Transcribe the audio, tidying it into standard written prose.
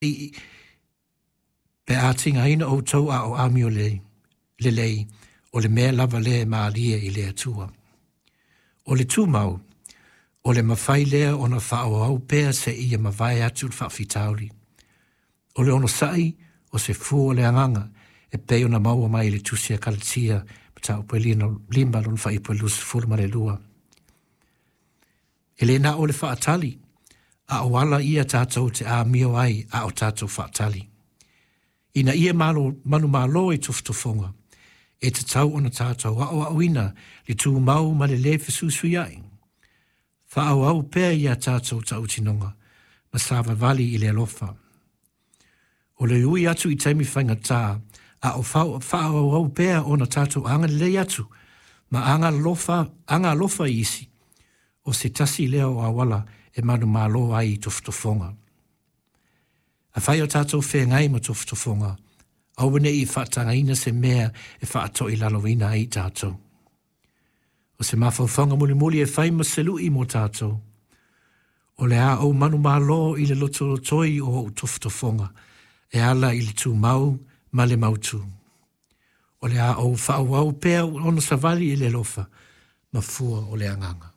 I pe a tigaina outou a o amio lelei, o le mea lava lea e malie i le Atua. O le tumau, o le mafai lea ona faaauau pea seia mavae atu le faafitauli. O le onosai, o se fua o le agaga, e pei ona maua mai i le tusi a Kalatia, mataupu e 5 lona fuaiupu e 22. E le na o le faatali, a o ala ia tatou te amio ai a o tatou faatali. Ina ia malo, manumalo i tofotofoga, e tatau ona tatou aoaoina le tumau ma le lē fesuisuiai. Faaauau pea ia tatou tautinoga ma savavali i le alofa. O le ui atu i taimi faigata, a o faaauau pea ona tatou agalelei atu ma agalofa i isi, o se tasi lea o auala e manumalo ai i tofotofoga. Afai o tatou feagai ma tofotofoga, aua ne i faatagaina se mea e faatoilaloina ai tatou. O se mafaufauga mulimuli e fai ma se lui mo tatou, o le a ou manumalo i le lotolotoi o ou tofotofoga, e ala i le tumau ma le mautu. O le a ou faaauau pea ona savali i le alofa ma fua o le agaga.